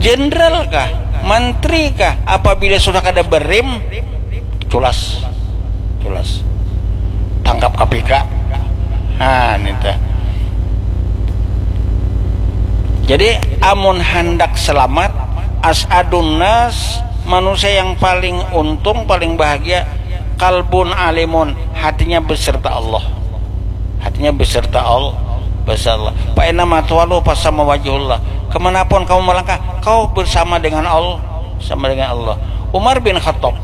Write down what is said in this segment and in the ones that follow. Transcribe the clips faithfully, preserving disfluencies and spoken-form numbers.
jenderal kah, mantri kah, apabila sudah kada berem, culas, culas, tangkap K P K. Nah, nita. Jadi amun handak selamat, as'adun nas, manusia yang paling untung, paling bahagia, kalbun alimun, hatinya beserta Allah. Hatinya beserta Allah, beserta Allah. Fa aina ma tuwallu fa sama wajhullah. Kemanapun kamu melangkah, kau bersama dengan Allah, sama dengan Allah. Umar bin Khattab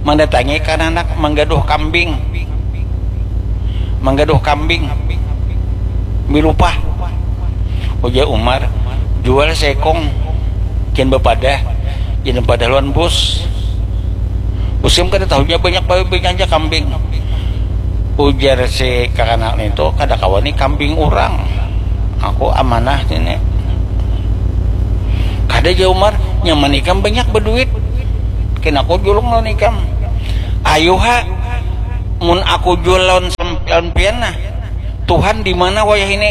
mendatangi kananak menggaduh kambing, menggaduh kambing milupah. Ujar Umar, jual sekong, kin bepadah, kin bepadah lawan bus. Musim kada tahunya banyak, banyak aja kambing. Ujar si kakanak itu, kada kawan ni kambing orang. Aku amanah ini. Kada, ja Umar, nyaman ikam banyak berduit. Kena aku julung lawan ikam. Ayuha, mun aku jual lawan sampian pian nah. Tuhan di mana wayah ini?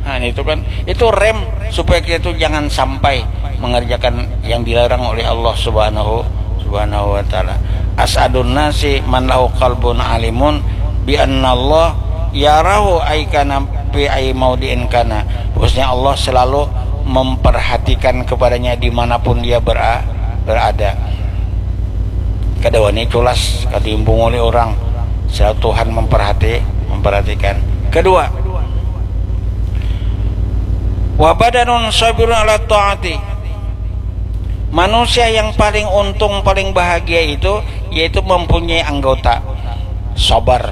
Nah, itu kan, itu rem supaya kita itu jangan sampai mengerjakan yang dilarang oleh Allah Subhanahu Subhanahu wa taala. As'adun nasi man lahu qalbun alimun bi anna Allah yarahu aikana fi ai maudiin kana. Bahwasanya Allah selalu memperhatikan kepadanya dimanapun dia bera, berada. Kada wani culas, kada imbung oleh orang. Selalu Tuhan memperhati, memperhatikan. Kedua, wa badanun sabirun ala taati. Manusia yang paling untung, paling bahagia itu yaitu mempunyai anggota sabar,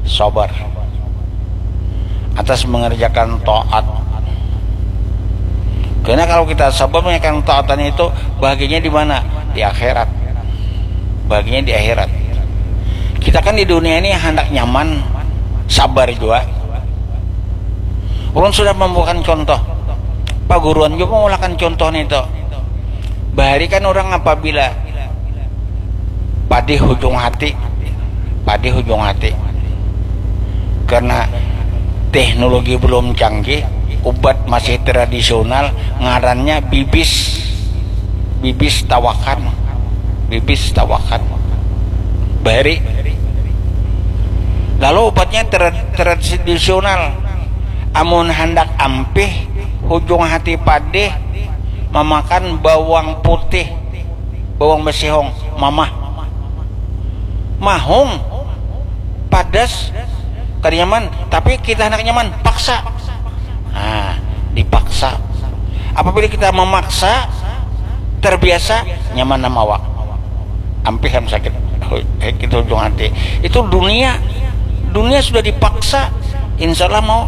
sabar atas mengerjakan taat. Karena kalau kita sabar mengerjakan taatan itu, bahagianya di mana? Di akhirat. Bahagianya di akhirat. Kita kan di dunia ini hendak nyaman, sabar juga. Ulun sudah membuatkan contoh. Paguruan juga mengulahkan contoh itu. Bahari kan orang apabila padih hujung hati, padih hujung hati. Karena teknologi belum canggih, ubat masih tradisional, ngarannya bibis, bibis tawakan, bibis tawakan. Bahari. Lalu ubatnya tra, tradisional. Amun handak ampih, hujung hati padih, mamakan bawang putih, bawang besihong, mamah. Mahung, padas, kada nyaman. Tapi kita handak nyaman, paksa. Nah, dipaksa. Apabila kita memaksa, terbiasa, nyaman nama awak. Ampih ham sakit, sakit hujung hati. Itu dunia. Dunia sudah dipaksa, insya Allah mau.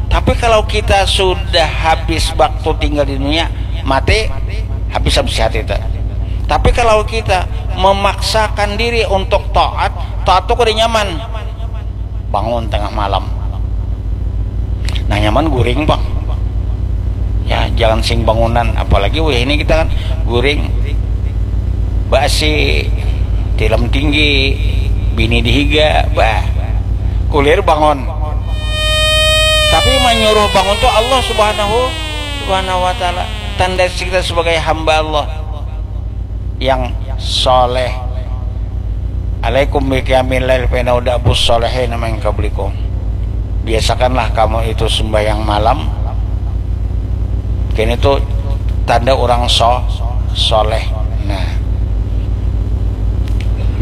Tapi kalau kita sudah habis waktu tinggal di dunia, mati, habis habis hati itu. Tapi kalau kita memaksakan diri untuk taat, taat tuh kada nyaman. Bangun tengah malam. Nah, nyaman guring, Bang. Ya, jangan sing bangunan, apalagi wih ini kita kan guring. Basi, tilam tinggi, bini dihiga, bah. Kulir bangun. Tapi menyuruh bangun tuh Allah Subhanahu Subhanahu wa taala. Tanda kita sebagai hamba Allah yang soleh. Alaikum biqiyamil lail fa innahu da'bus solehin min qablikum. Biasakanlah kamu itu sembahyang malam. Kini itu tanda orang so, soleh. Nah,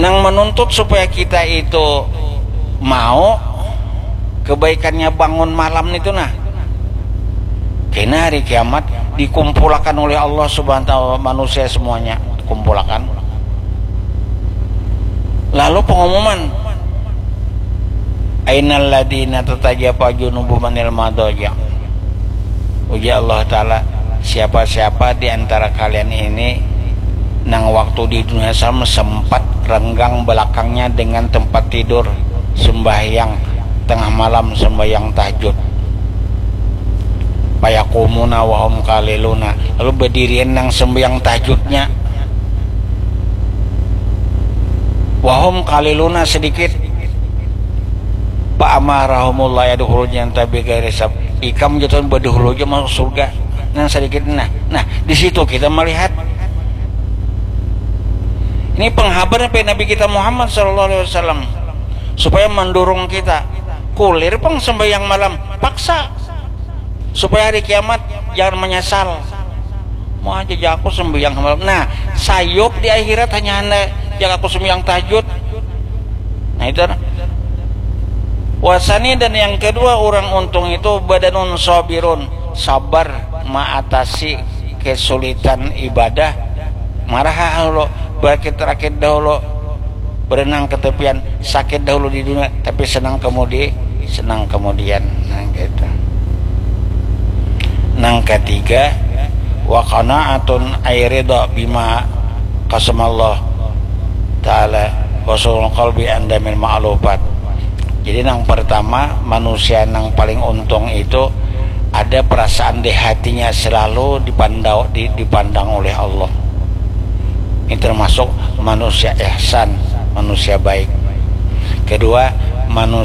nang menuntut supaya kita itu mau kebaikannya bangun malam itu, nah, kena hari kiamat dikumpulakan oleh Allah Subhanahu wa taala manusia semuanya, kumpulakan. Lalu pengumuman, ainal ladina tatajafa junubuhum anil madaja. Ujar Allah Ta'ala, siapa-siapa di antara kalian ini nang waktu di dunia sem- sempat renggang belakangnya dengan tempat tidur, sembahyang tengah malam, sembahyang tahajud. Fayakumuna wahum kaliluna, lalu berdirian nang sembahyang tahajudnya, wahum kaliluna, sedikit. Fa amarahumullah yadkhulul jannata bighairi hisab. Ikam jatuh badahulu aja masuk surga. Nah, sedikit, nah, nah, di situ kita melihat ini penghabar sampai Nabi kita Muhammad sallallahu alaihi wasallam supaya mendorong kita kulir pang sembahyang malam, paksa, supaya hari kiamat jangan menyesal. Mau aja jaku sembahyang malam. Nah, sayup di akhirat hanya anda jaga aku sembahyang tahajud. Nah, itu nah. Wasani, dan yang kedua orang untung itu badanun sabirun, sabar mengatasi kesulitan ibadah. Marah lo, berakit-rakit dahulu, berenang ke tepian, sakit dahulu di dunia, tapi senang kemudi, senang kemudian. Nah, gitu. Nang ketiga, wa qanaatun ay ridha bima qasamallah ta'ala, wa husnul qalbi inda ma'lufat. Jadi, nang pertama, manusia nang paling untung itu ada perasaan di hatinya selalu dipandau, di, dipandang oleh Allah. Ini termasuk manusia ihsan, manusia baik. Kedua, manusia